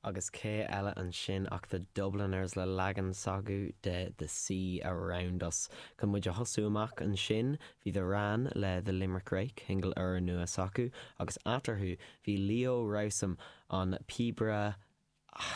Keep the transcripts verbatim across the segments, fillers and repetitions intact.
Agus cé eile ansin ach The Dubliners le leagan s'acu de The Sea Around Us. Chun muid a thosú amach ansin bhí The Wran le The Limerick Rake, single úrnua s'acu, agus eatarthu bhí Leo Rowsome an píobaire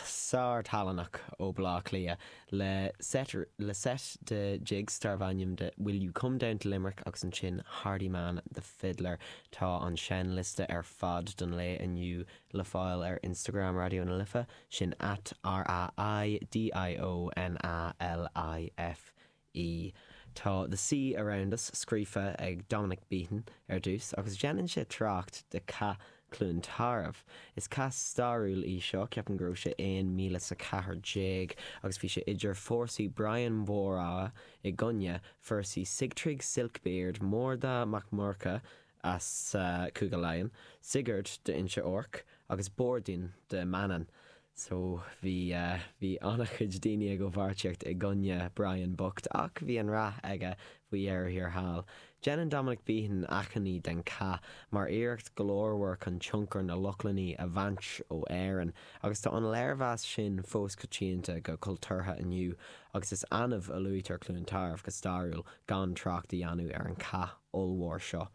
sárthalannach ó Bhleá Cliath le set le set de jigs darb ainm de Will You Come Down to Limerick agus ansin Hardyman the Fiddler tá an seinnliosta ar fad don lae inniu le fáil ar Instagram Raidió na Life sin at R A I D I O N A L I F E. Tá The Sea Around Us scríofa ag Dominic Beaton ar dtús agus déanann sé trácht de Cath Chluain Tarbh. Is cath stairiúil í seo ceapaim go raibh sé aon míle sa ceathair déag agus bhí sé idir fórsaí Brian Bóramha i gcoinne fórsaí Sigtrygg Silkbeard Mórda Mac Murcha as uh, Cúige Laighean, Sigurd de Inse Orc agus Bordin de Manann. So bhí uh, bhí an-chuid daoine ag comhpháirtíocht i gcoinne Brian bocht ach bhí an rath aige faoi dheireadh thiar thall. Déanann Dominic Beaton achainí den chath mar iarracht glórmhar chun tionchar na Lochlannach a bhaint ó Éirinn, agus tá an léirmheas sin fós coitianta go cultúrtha inniu, agus is annamh a luaitear Cluain Tarbh go stairiúil gan trácht a dhéanamh ar an chath ollmhór seo.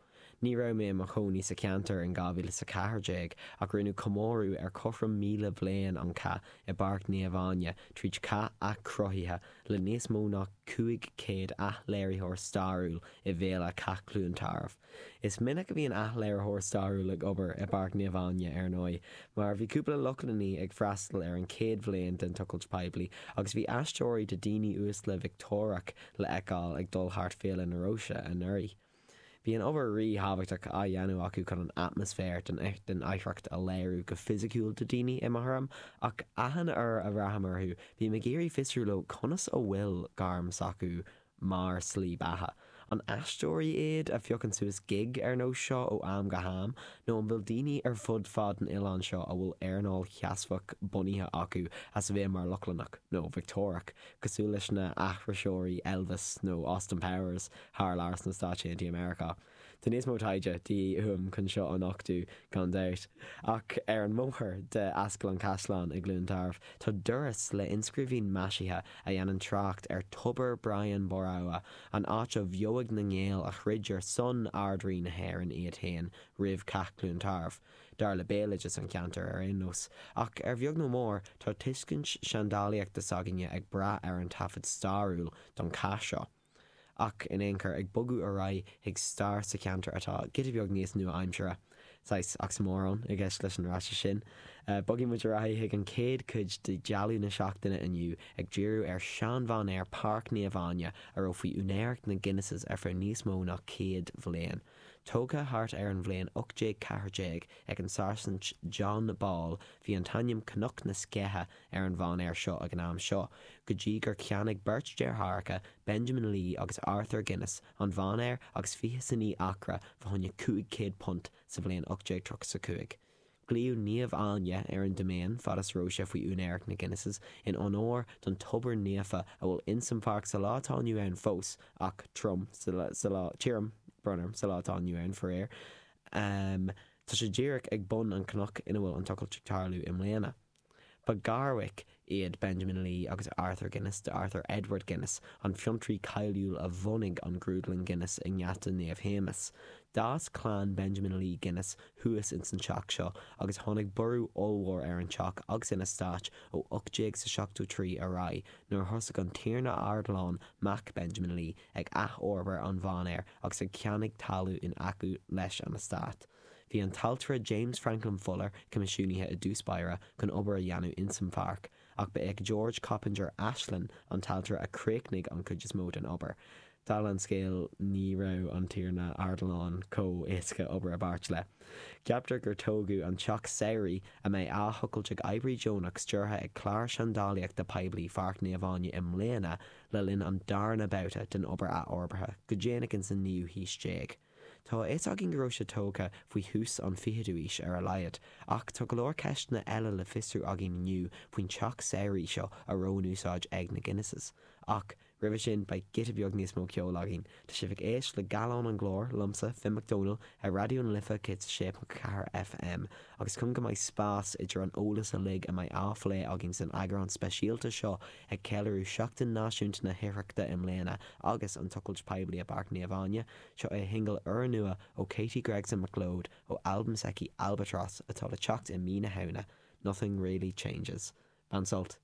Ní raibh mé i mo chónaí sa cheantar in dhá mhíle is a ceathair déag ach rinneadh comóradh ar cothrom míle bliain an chath i bPáirc Naomh Áine tríd cath athchruthaithe le níos mó ná cúig chéad athléiritheoir stairiúil i bhféile Cath Chluain Tarbh. Is minic a bhíonn athléiritheoir stairiúil ag obair i bPáirc Naomh Áine ar ndóigh, mar bhí cúpla Lochlannach ag freastal ar an chéad bhliain den tochailt poiblí agus bhí aisteoirí de daoine uaisle Victeoiriach le feiceáil ag dul thart Féile na Róise anuraidh. Bhí an obair ríthábhachtach á dhéanamh acu chun an atmaisféar den den oidhreacht a léiriú go fisiciúil do daoine i mo thuairim, ach achan uair a bhraithim orthu, bím ag iarraidh fiosrú leo conas a bhfuil gairm s'acu mar slí beatha. An aisteoirí iad a phiocann suas gig ar nós seo ó am go ham, nó an bhfuil daoine ar fud fad an oileáin seo a bhfuil earnáil sheasmhach bunaithe acu as a bheith mar Lochlannach nó Victeoiriach, cosúil leis na aithriseoirí Elvis nó Austin Powers thar lear sna Stáit Aontaithe Meiriceá. Tá níos mó taighde de dhíth uaim chun seo a nochtadh gan dabht. Ach ar an mbóthar de Ascaill an Chaisleáin i gCluain Tarbh, tá doras le inscríbhinn maisithe a dhéanann trácht ar Tobar Brian Bóramha, an áit a bhfeoigh na nGael a throid ar son Ard-Rí na hÉireann iad féin roimh Cath Chluain Tarbh, dar le béaloideas an cheantair ar aon nós. Ach ar bheag nó mór, tá tuiscint seandálaíochta s'againne ag brath ar an taifead stairiúil don chath seo. Ach in aon chor ag bogadh ar aghaidh chuig stair sa cheantar atá giota beag níos nua-aimseartha. Saghas oxymoron i gceist leis an ráiteas sin. Bogfaidh muid ar aghaidh chuig an chéad chuid de dealbh na seachtaine inniu ag díriú ar seanmhainéar Páirc Naomh Áine a raibh faoi úinéireacht na Guinnesses ar feadh níos mó ná céad bhliain. Tógtha thart ar an bhliain ocht déag ceathair déag ag an Sáirsint John Ball, bhí an t-ainm Cnoc na Sceiche ar an mhainéar seo ag an am seo, go dtí gur cheannaigh beirt deartháireacha, Benjamin Lee agus Arthur Guinness, an mhainéar agus fiche is a naoi acra fá choinne cúig chéad punt sa bhliain ocht déag tríocha a cúig. Glaodh Naomh Áine ar an diméin fad is raibh sé faoi úinéireacht na Guinnesses in onóir don tobar naofa a bhfuil insan pháirc sa lá atá inniu ann fós ach trom sa lá tirim brón orm sa lá atá inniu ann faraor. Tá sé díreach ag bun an chnoic ina bhfuil an tochailt ag tarlú i mbliana. Ba gharmhac iad Benjamin Lee agus Arthur Guinness de Arthur Edward Guinness, an fiontraí cáiliúil a bhunaigh an grúdlann Guinness i nGeata Naomh Shéamas. D'fhás clann Benjamin Lee Guinness thuas ins an teach seo agus tháinig borradh ollmhór ar an teach agus an eastát ó ocht déag seachtó trí ar aghaidh nuair a thosaigh an Tiarna Ardilaun mac Benjamin Lee ag athfhorbairt an mhainéir agus ag ceannaigh talamh in aice leis an eastát. Bhí an t-ailtire James Franklin Fuller coimisiúnaithe i dtús báire chun obair a dhéanamh insan pháirc, ach ba é George Coppinger Ashlin an t-ailtire a chríochnaigh an chuid is mó den obair. Dála an scéil ní raibh an Tiarna Ardilaun chomh héasca obair i bpáirt le. Ceaptar gur tógadh an teach samhraidh a mbeidh á thochailt ag oibrí deonach stiúrtha ag clár seandálaíochta poiblí Pháirc Naomh Áine i mbliana le linn an darna babhta den obair athfhorbartha go déanach ins an naoú haois déag. Tá a fhios againn go raibh sé tógtha faoi thús an fichiú haois ar a laghad, ach tá go leor ceisteanna eile le fiosrú againn inniu faoin teach samhraidh seo a raibh in úsáid ag na Guinnesses. Ach Roimhe sin beidh giota beag níos mó ceoil againn. Tá sibh ag éisteacht le Gallán an Ghlóir liomsa Finn Mac Dónaill ar Raidió na Life céad sé ponc ceathair FM, agus chun go mbeidh spás idir an eolas uilig a mbeidh á phlé againn san eagrán speisialta seo ag ceiliúradh Seachtain Náisiúnta na hOidhreachta i mbliana agus an tochailt poiblí i bPáirc Naomh Áine, seo é shingil úrnua ó Katie Gregson MacLeod ó albam s'aici Albatross atá le teacht i mí na Samhna, Nothing Really Changes. Bain sult.